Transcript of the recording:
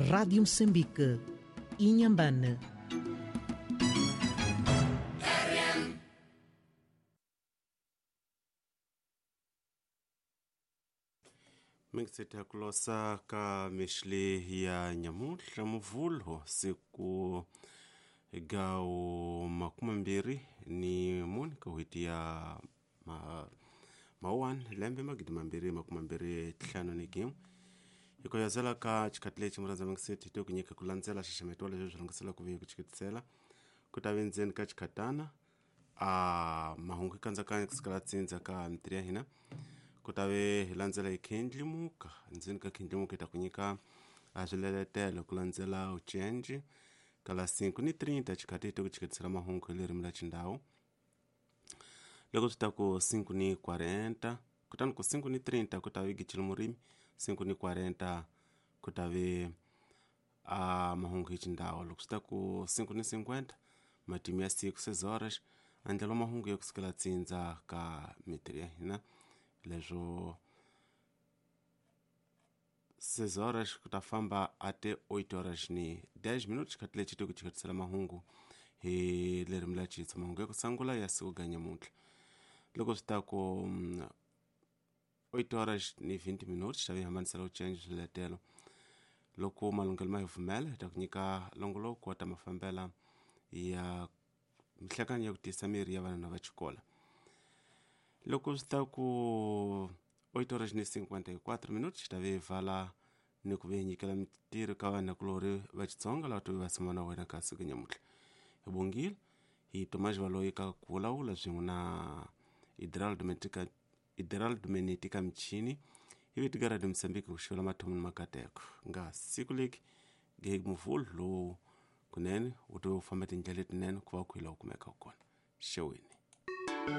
Rádio Moçambique, Inhambane. Mingiseta kulosa ka mixli ya nyamuhla muvhulo siku gawo 24 ka n'hweti ya mawuwani lembe 2025 hi ku yazela ka xikhathi lexi murhandza mingiseti to ku nyika ku landzela xaxameto wa leswi swi rhangisela ku ve ku xiketisela ku ta ve ndzeni ka xikhatana a mahungu kandzakanya ku sukela tsindza ka mitirhi ya hina ku ta ve hi landzela hi khendlimuka ndzeni ka khendlimuka hi ta ku nyika a swileletelo ku landzela ucenji kala 5:30 xikhathi hi to ku xiketisela mahungu hi ririmi ra xindhawu loko swi ta ku 5:40 kutani ku 5:30 ku ta ve gicile murimi 5:40 ku ta ve a mahungu hi xindhawu loko swi ta ku 5:50 matimu ya siku 6 horas andlelo mahungu ya kusukela tsindza ka mitirhi ya hina leswo 6 horas ku ta famba ate 8 horas ni 10 minutos xikhathi lexi to ku xiketisela mahungu hi ririmi ra xitsonga mahungu ya ku sungula ya siku ga nyamuntlha loko swi ta ku 8 horas ni 20 minutos ta vi hambanisela ucenji swiletelo loko malunghelo ma hi pfumela hi ta ku nyika longoloko wa ta mafambela ya mihlekanyo ya ku tiyisa miri ya vana va xikola loko swi ta ku 8 horas ni 54 minutos ta vi vala ni ku ve nyikela mitirho ka vanhu va Xitsonga lava to va tshama na wena ka siku nyamuntlha hi bongile hi Tomás Valoyi ka ku vulavula swin'we na Idraldo Menetika Michini hi vito ka Radio Mozambique ku xivela mathomo ni makateko nga siku leki ge muvhulu lowu kunene wu to famba tindlela letinene ku va ku hi laha u kumeka kona xeweni.